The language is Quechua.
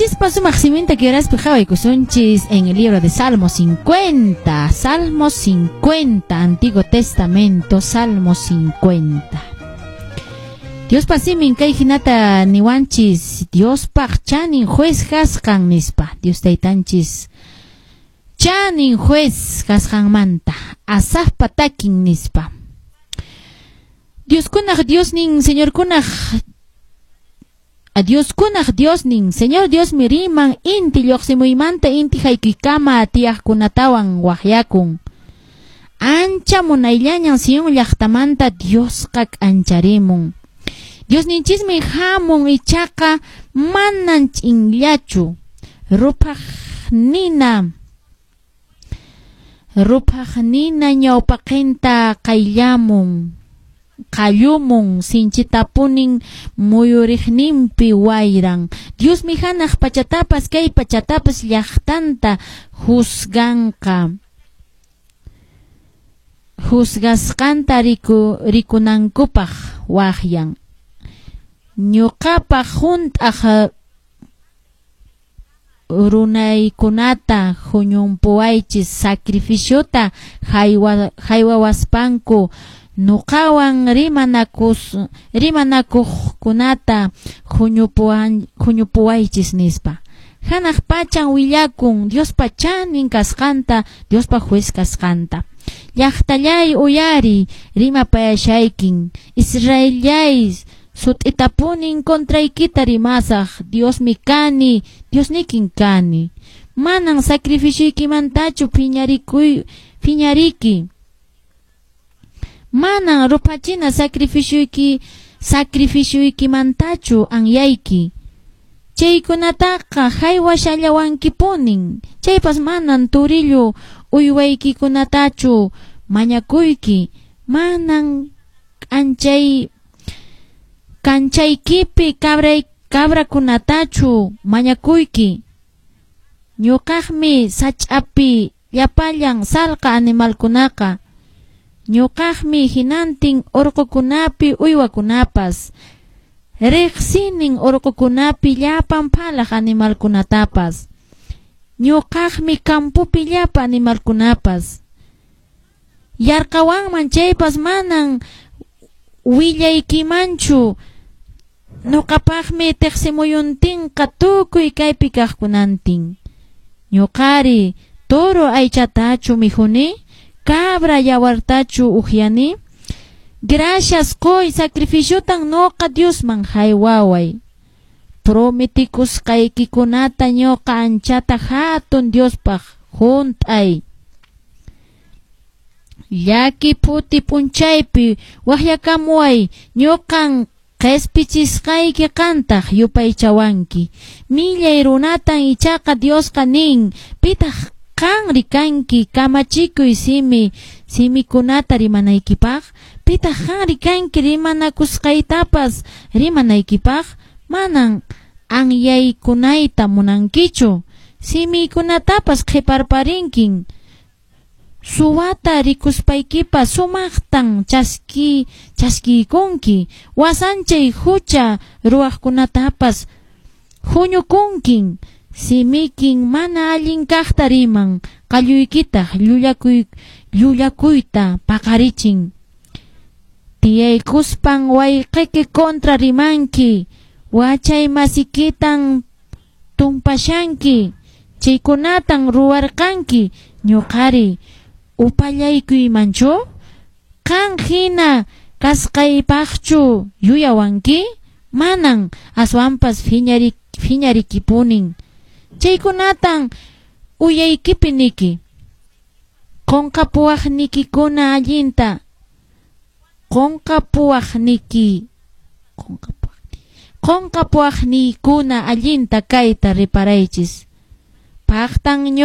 Diosninchispa sumaq siminta kay qhawaykusunchis en el libro de Salmo 50, Salmo 50, Antiguo Testamento, Salmo 50. Diospa simin kay hinata niwanchis, Diospaq chanin juez kasqan nispa, Dios taytanchis chanin juez kasqanmanta, Asafpa takin nispa. Dioskunaq Diosnin, Señorkunaq Dioskunaq Diosnin, Señor Diosmi riman inti lluqsimuymanta inti haykuykama tiyaqkunatawan waqyakun. Ancha munayllañan Sion llaqtamanta Diosqa k'ancharimun. Diosninchismi hamun ichaqa manan ch'inllachu. Ruphaq nina ñawpaqinta qayllamun. Qallumun sinchitapunin muyuriqninpi wayran. Diosmi hanaq pachatapas kay pachatapas llaqtanta juzganqa. Juzgasqanta rikunankupaq waqyan. Ñuqapaq hunt'aq runaykunata huñumpuwaychis sacrificiota haywawaspanku nuqawan rimanakuqkunata huñupuwaychis nispa. Hanaq pachan willakun Diospa chanin kasqanta, Diospa juez kasqanta. Llaqtallay uyari rimapayashaykin, Israellay sut'itapunin contraykita rimasaq, Diosmi kani, Diosnikin kani. Manan sacrificioykimantachu phiñariki. Manan ruphachina sacrificioykimantachu anyayki. Chaykunataqa haywashallawankipunin. Chaypas manan turillu uywaykikunatachu mañakuyki. Manan kanchaykipi cabrakunatachu mañakuyki. Ñuqaqmi sach'api llapallan salqa animalkunaqa. Ñuqaqmi hinantin urqukunapi uywakunapas. Riqsinin urqukunapi llapan phalaq animalkunatapas. Ñuqaqmi campopi llapa animalkunapas. Yarqawanman chaypas manan willaykimanchu. Ñuqapaqmi tiqsimuyuntinqa tukuy kaypi kaqkunantin. Ñuqari toro aychatachu mikhuni, cabra yawartachu uhyani. Gracias qoy sacrificiotan noqa Diosman haywaway. Prometikusqaykikunata ñuqa anchata hatun Diospaq hunt'ay. Llaki phuti p'unchaypi waqyakamuway, ñuqan qhispichisqayki qantaq yupaychawanki. Millay runatan ichaqa Diosqa nin, pitaq qanri kanki kamachikuy simikunata rimanaykipaq, pitaq qanri kanki rimanakusqaytapas rimanaykipaq, manan anyaykunayta munankichu, simiykunatapas qhiparparinkin. Suwata rikuspaykipas sumaqtan chaskiykunki, wasanchay hucha ruwaqkunatapas huñukunkin. Simikin mana allin kaqta riman, qalluykitaq llullakuyta paqarichin. Tiyaykuspan wayqiyki kontra rimanki, wachay masikitan tumpashanki, chaykunatan ruwarqanki, ñuqari upallaykuymanchu? Qan hina kasqaypaqchu yuyawanki? Manan, aswanpas phiñarikipunin. Chaykunatan uyaykipi niki. Qunqapuwaqnikikuna allinta. Qunqapuwaqniykuna allinta kayta riparaychis. Paqtan